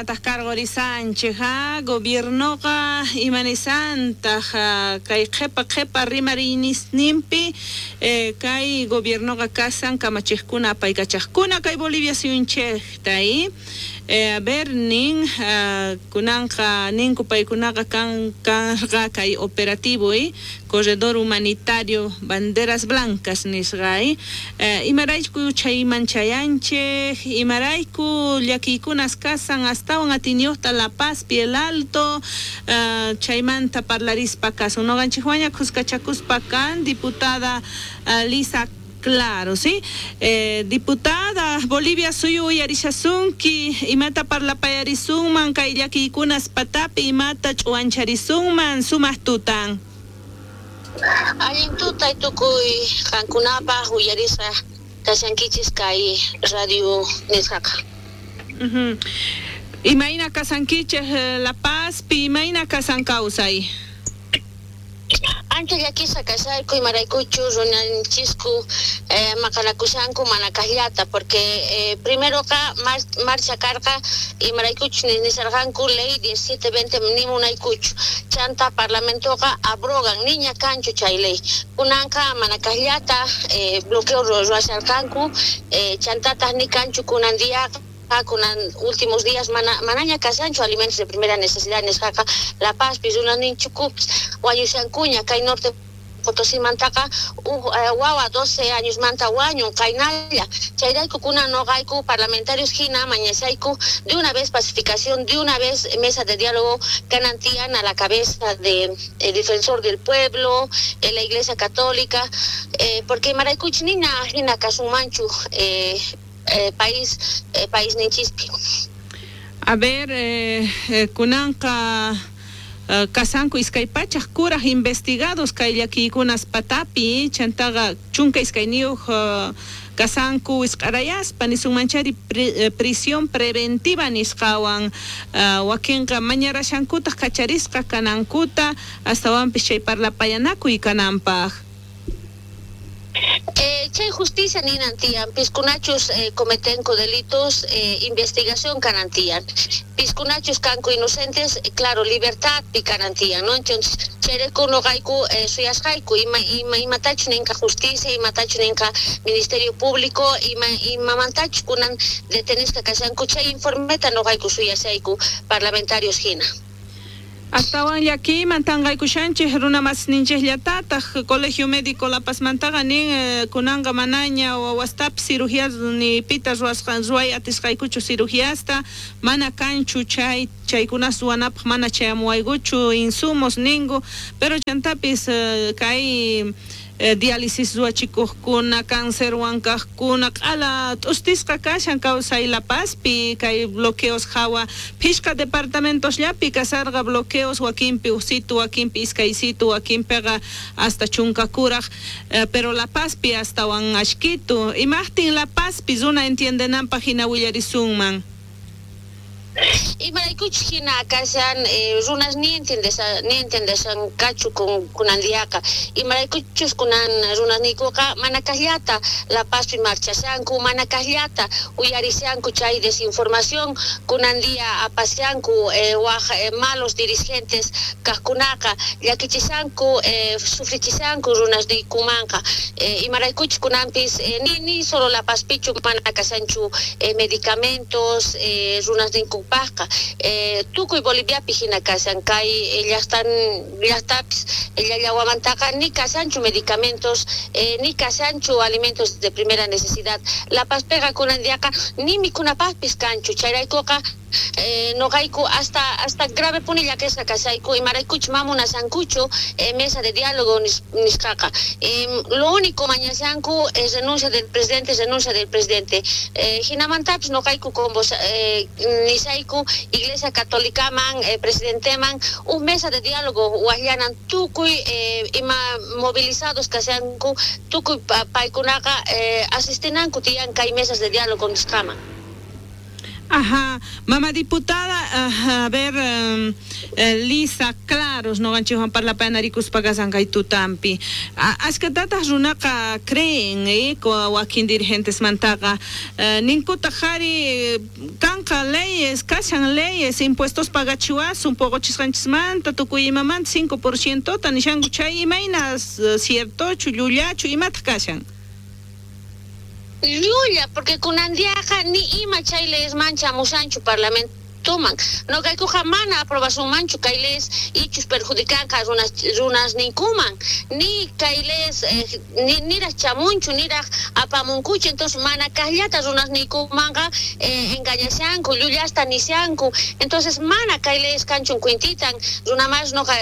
Imaynataq karqurisanchik, ha? Gobiernoqa imanisantaq kay qhipa qhipa rimariynisninpi kay gobiernoqa kasan kamachiqkuna apaykachaqkuna kay Bolivia suyunchikta i a ver nin kunanqa ninku paykunaqa kan karqa kay operativo i corredor humanitario banderas blancas nisqa i imarayku chayman chayanchik, imarayku llakiykunas kasan astawan atiyniyuqta La Pazpi, El Alto, chaymanta parlarispa kasun. Noqanchikwanña khuskachakuspa kan diputada Lisa Claro, sí? Diputada, Bolivia suyu uyarishasunki, imata parlapayarisunman kay llakiykunas patapi, imata ch'uwancharisunman sumaq tutan. Allin tutay tukuy qankunapaj uyarisqa kashankichis kay radio nisqaqa. Imayna kasankichej La Pazpi, imayna kasan kawsay? Ancha llakisqa kashayku imaraykuchus runanchisku maqanakushanku mana kaqllata porque primeroqa marcha karqa imaraykuchus nisharqanku ley 1720 ni munaykuchu chanta parlamentoqa abrogan niña kanchu chay ley kunanqa mana kaqllata bloqueo ruwasharqanku chantataq ni kanchu kunan diaqa kunan últimos días manaña kashanchu alimentos de primera necesidad nisqaqa La Pazpi runasninchukupis wañushankuña kay Norte Potosimantaqa uj wawa 12 añosmanta wañun qaynalla chayrayku kunan noqayku parlamentarios hina mañashayku de una vez pacificación, de una vez mesa de diálogo kanan tiyan a la cabeza de el defensor del pueblo, la Iglesia Católica, porque imaraykuchus nina hina kasunmanchu país paisninchispi. A ver, kunanqa kasanku iskay pachaj kuraj investigados kay llakiykunas patapi chantaqa 12 kasanku wisq'arayaspa nisunmanchari prisión preventiva nisqawan wakinqa mañarashankutaq kacharisqa kanankuta astawanpis chay parlapayanakuy kananpaq. Chay justicia ninan tiyan piskunachus cometenku delitos investigación kanan tiyan piskunachus kanku inocentes claro libertad pi kanan tiyan, ¿no? Entonces chayrayku noqayku suyasqayku ima imatachus ninqa justicia, imatachus ninqa Ministerio Público, imamantachus kunan detenisqa kashanku chay informeta noqayku suyashayku parlamentarios hina. Astawan llakiyman tanqaykushanchik runa masninchikllatataq Colegio Médico La Pazmantaqa nin kunanqa manaña wawastapis cirugías ni pita ruwasqan ruway atisqaykuchu cirugiasta mana kanchu chay chaykunas ruwanapaq mana chayamuwaykuchu insumos ninku pero chantapis kay diálisis ruwachikuqkuna cáncerwan kaqkuna q'ala t'ustisqa kashan kawsay La Pazpi kay bloqueos hawa phishqa departamentosllapi kasarqa bloqueos wakinpi uqsitu wakinpi iskaysitu wakinpiqa hasta chunka kuraj pero La Pazpi astawan ashkitu imaqtin La Pazpi runa entiendenanpaq hina willarisunman. Imaraykuchus hina kashan runas ni entiendeshankachu kunan diaqa imaraykuchus kunan runasniykuqa mana kaqllata La Pazpi marchashanku mana kaqllata uyarishanku chay desinformación kunan día apashanku waj malos dirigentes kaqkunaqa llakichishanku sufrichishanku runasniykumanqa imaraykuchus kunanpis ni solo La Pazpichu mana kashanchu medicamentos runasninkupaqqa tukuy Boliviapi hina kashan kay llaqtapis llallawamantaqa ni kashanchu medicamentos ni kashanchu alimentos de primera necesidad La Pazpiqa kunan diaqa ni mikhunapaqpis kanchu chayraykuqa noqayku hasta grave puni llakisqa kashayku imaraykuchus mamunashankuchu mesa de diálogo nisqaqa lo único mañashanku es renuncia del presidente, renuncia del presidente hinamantapis noqayku nisayku Iglesia Católicaman presidenteman un mesa de diálogo waqllanan tukuy ima movilizados kashanku tukuy paykunaqa asistinanku tiyan kay mesas de diálogo nisqaman. Ajá, mama diputada, a ver, Lisa Claros, noqanchikwan parlapayanarikuspa kashan kay tutampi. Ashkatataj runaqa creen, wakin dirigentesmantaqa ninkutaq qhari kanqa leyes, kashan leyes, impuestos pagachiwasun poqochisqanchismanta tukuy imamanta 5%ta nishanku, chay imayna ciertochu, llullachu, imataq kashan? Llulla, porque kunandiaqa ni ima chay leyesman chamushanchu parlamentoman. Noqaykuqa mana aprobasunmanchu kay leyes ichus perjudicanqa runas ninkuman, ni kay leyes niraj chamunchu, niraj apamunkuchu, entonces mana kaqllata runas niykumanqa engañashanku, llullasta nishanku, entonces mana kay leyes kanchun cuentitan, runamas noqa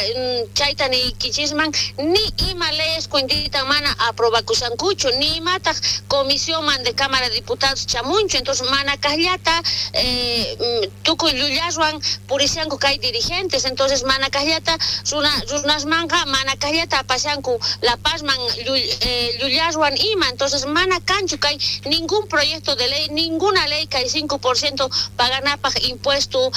chayta niykichisman, ni ima leyes cuentitan mana aprobakushankuchu, ni imataq comisión de Cámara de Diputados chamunchu, entonces mana kaqllata tukuy llullaswan purishanku kay dirigentes, entonces mana kaqllata runasmanqa mana kaqllata apashanku La Pazman llullaswan ima, entonces mana kanchu kay ningún proyecto de ley, ninguna ley kay 5% paganapaj impuesto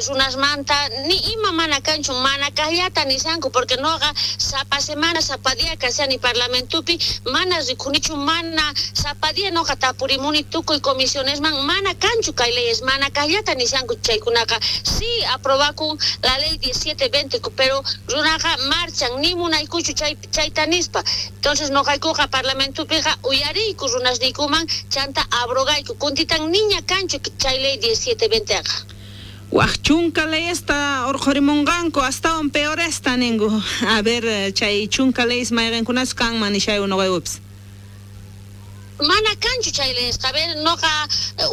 runasmanta, ni ima mana kanchu, mana kaqllata nishanku, porque noqa sapa semana, sapa día kashani parlamentupi, mana rikunichu, mana sapa día noqa tapurimuni tukuy comisionesman, mana kanchu kay leyes, mana kaqllata nishanku chaykunaqa, sí aprobakun la ley 1720, pero runaqa marchan, ni munaykuchu chayta nispa, entonces noqaykuqa parlamentupiqa uyariyku runasniykuman chanta abrogayku, kuntitan niña kanchu chay ley 1720qa. Waj chunka leyesta urqhurimunqanku astawan peoresta ninku. A ver, chay chunka leyes mayqinkunachu kanman nishay noqaykupis. Mana kanchu chay leyesqa, a ver, noqa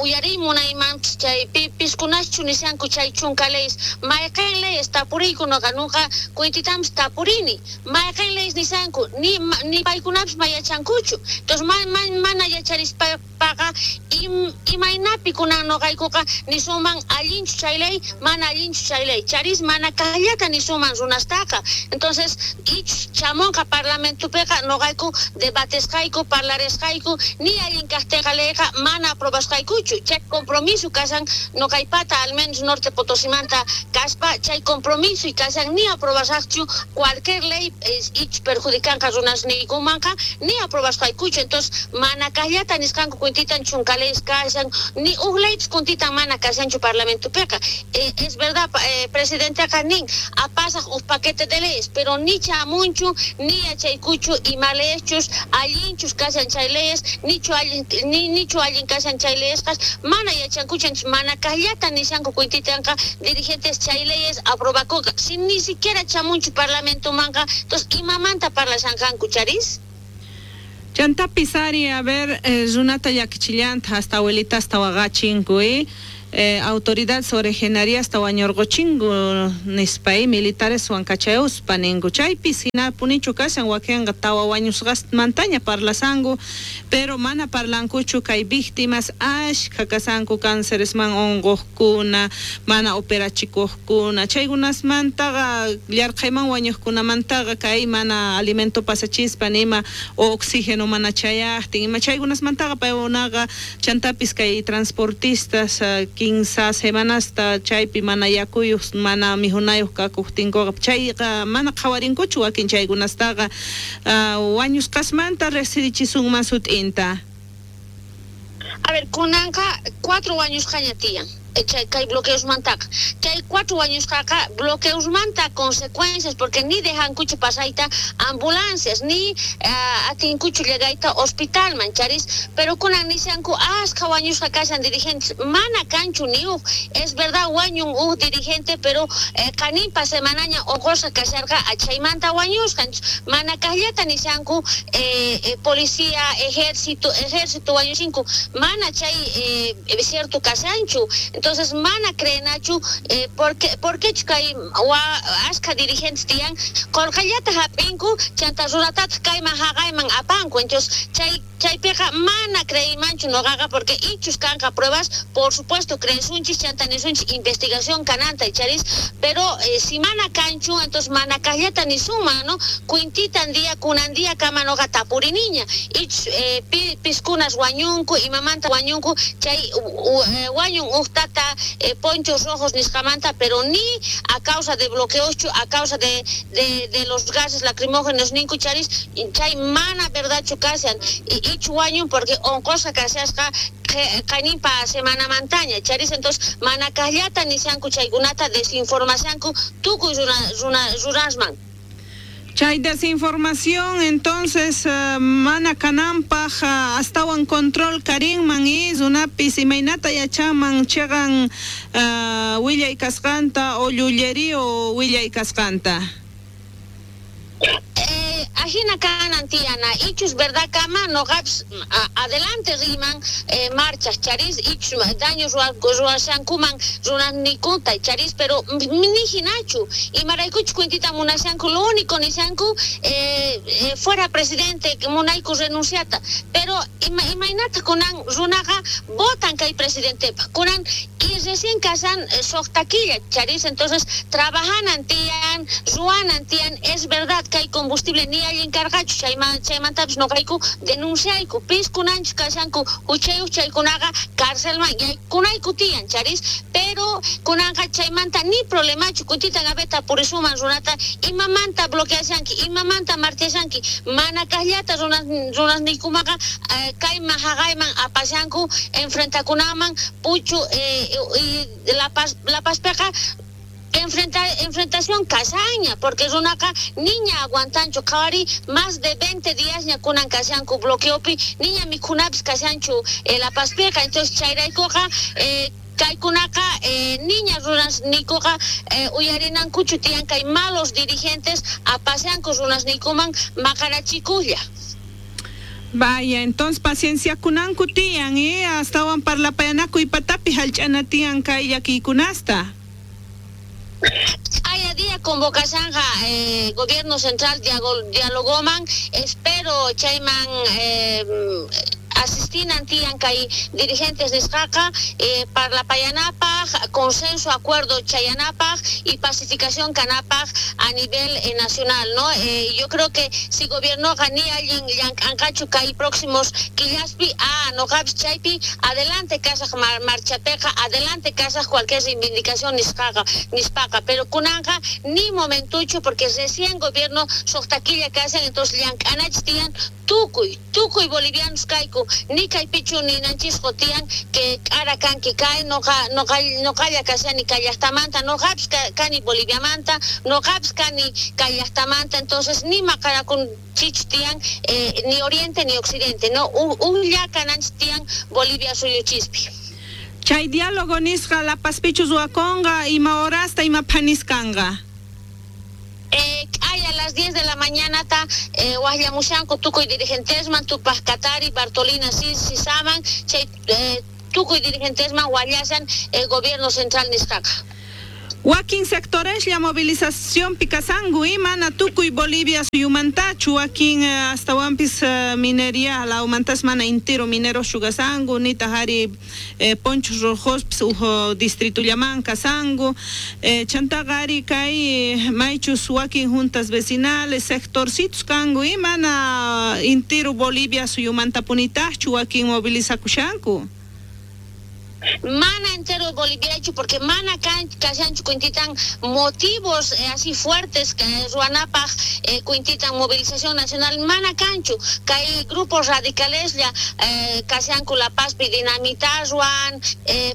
uyariy munayman chay piskunaschu nishanku chay chunka leyes, mayqin leyes tapuriyku noqa, noqa cuentitampis tapurini, mayqin leyes nishanku, ni paykunapis mayachankuchu, entonces mana yacharispaqa imaynapi kunan noqaykuqa nisunman allinchu chay ley, mana allinchu chay ley, charis mana kaqllata nisunman runastaqa, entonces ich chamunqa parlamentupiqa noqayku debatesqayku, parlaresqayku, ni allin kaqtinqa leyqa mana aprobasqaykuchu, chay compromiso kashan noqaypata al menos Norte Potosimanta kaspa, chay compromiso y kashan ni aprobasaqchu cualquier ley ich perjudicanqa runasniykumanqa ni aprobasqaykuchu, entonces mana kaqllata nisqanku cuentitan chunka leyes kashan, ni uj leypis kuntitan mana kashanchu parlamentupiqa. Es verdad, presidenteqa nin apasaq uj paquete de leyes, pero ni chamunchu, ni yachaykuchu ima leyeschus allinchus kashan chay leyes, nichu allin, nichu allin kashan chay leyesqas, mana yachankuchu, entonces mana kaqllata nishanku cuentitanqa dirigentes chay leyes aprobakunqa, si ni siquiera chamunchu parlamentomanqa, entonces imamanta parlashanqanku charis. Chantapis ari, a ver, runata llakichillanta hasta abuelita hasta waqachinku, autoridades originarias wañurquchinku nispa, militares wankachayuspa ninku, chaypis hina punichu kashan wakinqa tawa wañusqasmantaña parlasanku, pero mana parlankuchu kay víctimas ashkha kasanku cánceresman unquqkuna, mana operachikuqkuna, chaykunasmantaqa llarqayman wañuqkunamantaqa kay mana alimento pasachispa nima oxígeno mana chayaqtin, ima chaykunasmantaqa paykunaqa chantapis kay transportistas 15 semanasta chaypi mana yakuyuq, mana mijunayuq kakuqtinkuqa, chayqa mana qhawarinkuchu wakin chaykunastaqa, wañusqasmanta riqsirichisunman sut'inta. A ver, kunanqa 4 wañusqaña tiyan. Chay kay bloqueosmantaqa, chay 4 wañusqaqa bloqueosmanta consecuencias, porque ni dejankuchu pasayta ambulancias, ni atinkuchu llegayta hospitalman, charis, pero kunan nishanku ashkha wañusqa kashan dirigentes, mana kanchu ni uj, es verdad wañun uj dirigente, pero qaninpa semanaña uqusqa kasharqa achaymanta wañusqa, mana kaqllata nishanku policía, ejército wañushinku, mana chay cierto kashanchu, entonces mana creenachu porque kay ashkha dirigentes tiyan qolqellata hap'inku chanta runatataq kayman haqayman apanku, entonces chaypiqa mana creeymanchu noqaqa, porque ichus kanqa pruebas, por supuesto creesunchis chanta nisunchis investigación kananta charis, pero si mana kanchu, entonces mana kaqllata nisunman, ¿no? Cuintitan día kunan día kama noqa tapuriniña, ich piskunas wañunku, imamanta wañunku, chay wañun uj tata kajllata ponchos rojos nisqamanta, pero ni a causa de bloqueoschu, a causa de los gases lacrimógenos ninku charis, chay mana verdadchu kashan, ichu wañun porque onqosqa kashasqa qayninpa semana mantaña charis. Entonces mana kajllata nishanku chaykunata, desinformashanku tukuy runasman. Chay desinformación entonces mana kananpaj astawan control karinman y runapis imaynata yachaman cheqan willay kasqanta o llullerío willay kasqanta. Ajina kanan tiyana, ichus verdad kama noqapis adelante riman marchas charis, ichus daños ruwashankuman runasnikunta charis, pero ni hinachu imaraykuchus cuentita munashanku, lo único nishanku fuera presidente, munayku renunciata, pero imaynata kunan runaqa votan kay presidentepaj kunan y recién kasan suqta killa charis. Entonces trabajanan tiyan, ruwanan tiyan. Es verdad que hay combustible ni allin karqachu, chaymantapis noqayku denunciayku, pis kunanchus kashanku huchayuq chaykunaqa carcelman yaykunayku tiyan charis, pero kunanqa chaymanta ni problemachu. Kutita gaveta purisuman runata, imamanta bloqueashanki, imamanta marchashanki, mana kajllata runasniykumaqa kayman jaqayman apashanku enfrentakunaman puchu y La Pazpeqa enfrentación kashaña, porque runaqa niña aguantanchu, qhawari más de 20 días ña kunan kashanku bloqueopi, niña mikhunapis kashanchu La Pazpiqa. Entonces chayraykuqa kaykunaqa niña runasniykuqa uyarinankuchu tiyan kay malos dirigentes apashanku runasniykuman maqarachikulla. Vaya, entonces paciencia kunanku tiyan, astawan parlapayanakuy patapi hallch'ana tiyan kay llakiykunasta. Haya día convocashanja gobierno central dialogoman, espero chayman asistinan tiyan kay dirigentes nisqaqa parlapayanapaj, consenso, acuerdo chayanapaj y pacificación kanapaj a nivel nacional, ¿no? Yo creo que si gobiernoqa ni allin llank'anqachu kay próximos killaspi, noqapis chaypi adelante kasaj marchapeqa, adelante kasaj cualquier reivindicación nisqaqa nispaqa, pero kunanqa ni momentuchu porque recién gobierno suqta killa kashan, entonces llank'anachis tiyan tukuy bolivianos kayku, ni kaypichu ninanchisqu tiyan que k'ara kanki kay noqalla kashani kay llaqtamanta, noqapis kani Boliviamanta, noqapis kani kay llaqtamanta, entonces ni maqanakunchichu tiyan ni oriente ni occidente, no, unlla kananchis tiyan Bolivia suyuchispi. Chay diálogo nisqa La Pazpichu ruwakunqa, ima horasta ima phaniskanqa. Hay a las 10 de la mañana ta wajllamushanku tukuy dirigentesman, Tupaj Katari, Bartolina Sisaman, chay tukuy dirigentesman wajllashan gobierno central nisqaqa. Wakin sectores la movilización pikasangu imana tukuy Bolivia suyumantachu, wakin astawanpis minería lawmantas mana intero minero shugasangu, nita hari ponchos rojos ujo distrito llaman kasangu, chantaqa ari kay maychus wakin juntas vecinales sectorcitos kangu imana intero Bolivia suyumantapunitachu wakin movilizakushanku. Mana entero Boliviachu porque mana kashanchu cuentitan motivos así fuertes que ruanapaj cuentitan movilización nacional, mana kanchu kay grupos radicales ya kashanku La Pazpi dinamita ruan,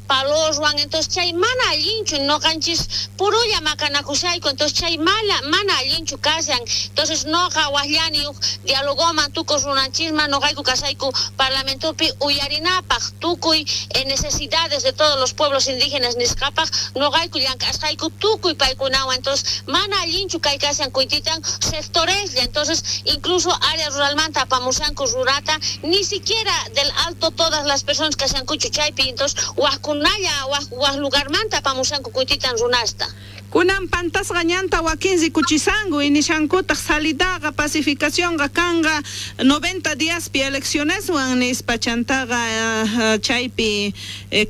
palos ruan, entonces chay mana allinchu noqanchis purulla maqanakushayku, entonces chay mana allinchu kashan, entonces noqa wajllani uj dialogoman tukuy runanchisman noqayku kashayku parlamentopi uyarinapaj tukuy necesidad de todos los pueblos indígenas nisqapaj noqayku llank'asqayku tukuy paykunawan, entonces mana allinchu kay kashan kuititan sectoreslla, entonces incluso área ruralmanta apamushanku rurata, ni siquiera del alto todas las personas kashankuchu chaypi, entonces wajkunalla waj lugarmanta apamushanku kuititan runasta. Kunan pantasqa ñanta wakin rikuchisanku inishankutaq salidaqa pacificacionqa kanqa 90 diaspi eleccioneswan nispa, chantaqa chaypi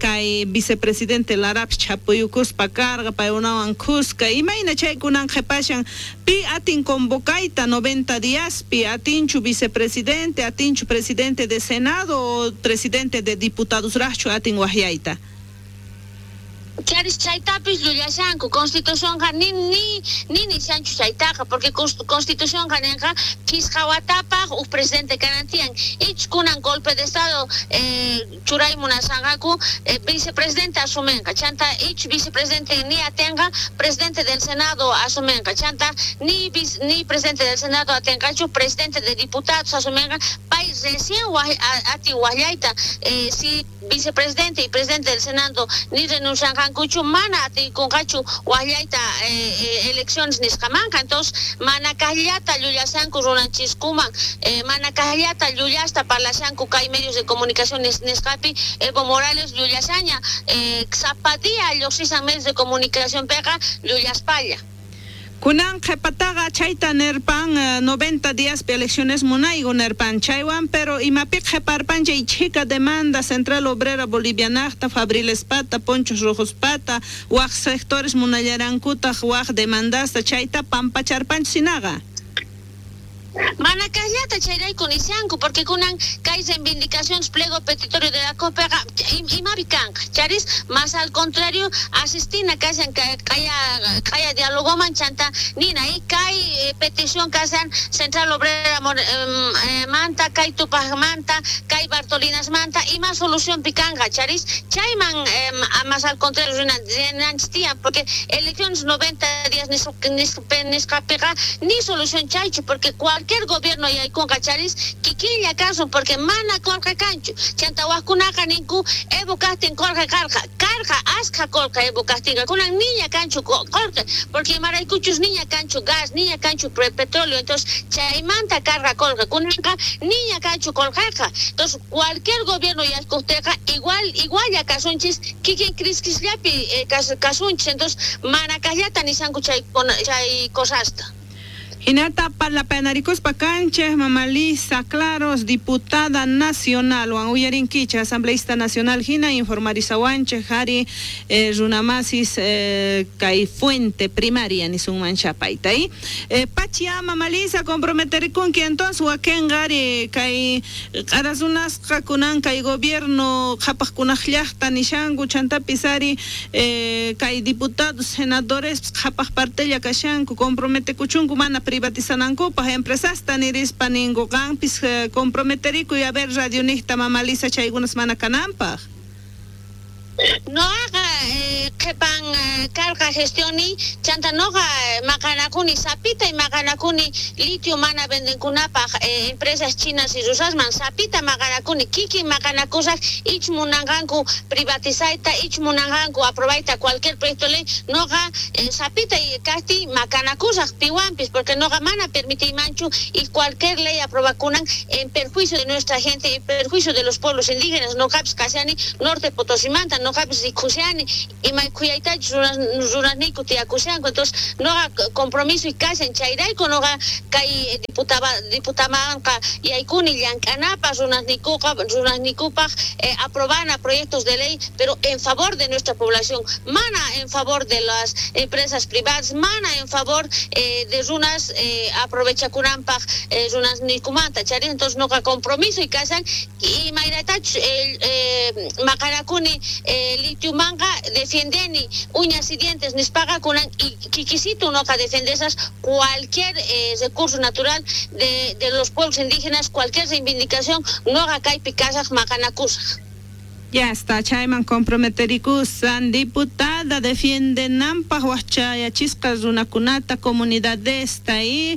kay vicepresidente Larapis chapuyukuspa karqa paykunawan khuska, imayna chay kunan qhipashan pi atin convocayta 90 diaspi, atinchu vicepresidente, atinchu presidente de Senado o presidente de diputados rajchu atin wajyayta. Charis chaytapis llullashanku. Constitucionqa ni nishanchu chaytaqa, porque constitucionqa nenqa phisqa watapaj uj presidente kanan tiyan. Ich kunan golpe de estado churay munashanqaku, vicepresidente asumenqa. Chanta ich vicepresidente ni atenqa, presidente del Senado asumenqa. Chanta ni presidente del Senado atenqachu, presidente de diputados asumenqa. Pay recién ati wajllayta, si vicepresidente y presidente del Senado ni renuncianqankuchu, mana atikunqachu wajllayta elecciones nisqamanqa. Entonces mana kaqllata llullashanku runanchiskuman, mana kaqllata llullasta parlashanku kay medios de comunicación nisqapi. Evo Morales llullashaña, sapa día lluqsishan medios de comunicación peqa llullaspalla. Kunan qhepataqa chayta nerpan 90 días elecciones munayku nerpan chaywan, pero imapi qheparpan chay chhika demanda Central Obrera Bolivianajta, Fabrilespata, Ponchos Rojospata, waj sectores munallarankutaq waj demandasta chayta pampacharpanchu sinaqa. Mana kaqllata chayrayku nishanku, porque kunan kay reivindicaciones pliego petitorio de la COPEGA imapi kanqa. Charis, más al contrario, asistina kashan kaya dialogoman chanta nina y kay petición kashan Central Obrera manta, kay Tupaj manta, kay Bartolinas manta, ima solución pikanqa, charis, chayman más al contrario rinanchis tiyan, porque elecciones 90 días nisqapiqa ni solución chaychu, porque cualquier gobierno yaykunqa charis kikinlla kasun, porque mana qolqe kanchu. Chanta wajkunaqa ninku Evo kajtin qolqe karqa, karqa askha qolqe Evo kajtinqa, kunan niña kanchu qolqe, porque imaraykuchus niña kanchu gas, niña kanchu petróleo, entonces chaymanta karqa qolqe, kunanqa niña kanchu qolqeqa. Entonces cualquier gobierno yaykuqteqa igual kasunchis kikin criskisllapi kasunchis, entonces mana kaqllata nishanku chay cosasta. Hinata parlapanarikuspa kanchej Mama Lisa Claros, diputada nacional, wan uyarinkicha, asambleísta nacional hina informarizawanchej hari runamasis kay fuente primaria nisunman chapayta. Pachia Mama Lisa comprometerikunki entonces wakin qari kay q'arasunasqa kunan kay gobierno qhapaqkunaq llaqta nishanku chantapis ari kay diputados senadores qhapaq partella kashanku comprometekuchunku mana privatizanankupaj empresasta nirispa ninku qanpis comprometerikuy a ver radio niqta Mama Lisa chaykunas mana kananpaj. Noqa qhipan karqa gestioni chanta noqa maqanakuni sapita y maqanakuni litio mana vendenkunapaj empresas chinas y rusasman sapita maqanakuni kikin maqanakusaj ich munanqanku privatizayta ich munanqanku aprobayta cualquier proyecto ley noqa sapita y kajti maqanakusaj piwanpis porque noqa mana permitiymanchu y cualquier ley aprobakunan en perjuicio de nuestra gente, en perjuicio de los pueblos indígenas. Noqapis kashani norte Potosimanta, noqapis rikushani imay khuyaytachus runasniyku tiyakushanku. Entonces noqa compromiso y kashan chayrayku noqa kay diputamanqa yaykuni llank'anapaq runasniykupaq aprobana proyectos de ley, pero en favor de nuestra población, mana en favor de las empresas privadas, mana en favor de runas aprovechakunanpaq runasniykumanta chari. Entonces noqa compromiso y kashan imaynatachus maqanakuni litiumanqa defiendeni uñas y dientes nispaqa kunan y kikisitu noqa defendesas cualquier recurso natural de los pueblos indígenas, cualquier reivindicación noqa kaypi kasaq maqanakusaq. Ya está, chayman comprometerikusan diputada defiende nampaj wachayachisqa runakunata comunidadesta y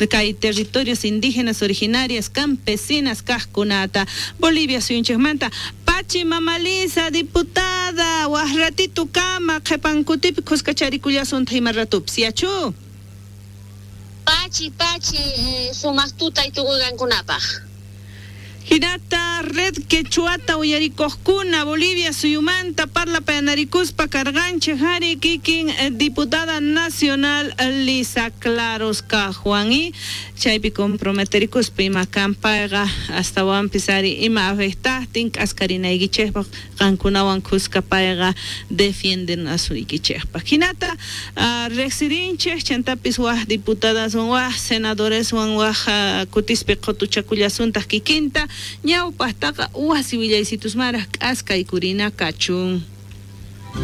kay territorios indígenas originarias campesinas kajkunata Bolivia suyunchikmanta. Pachi Mama Lisa diputada waj ratito kama qhipankutipi khuskacharikullasunta ima ratupis yachu. Pachi pachi sumaq tuta y tukuyqankunapaj. Hinata red quechuata uyarikuqkuna Bolivia suyumanta parlapayanarikuspa karqanchik hari kikin diputada nacional Lisa Claros Cajuan y chaypi comprometerikuspa ima kanpayqa astawanpis ari ima afectajtin k'askarinaykichispa qankunawan khuska payqa defienden asuykichikpaq. Hinata riqsirinchik chantapis waj diputadaswan waj senadoreswan waj kutispi qhutuchakullasuntaq kikinta ñawpaqtaqa wasi willaysitusmaraq k'askaykurina kachun.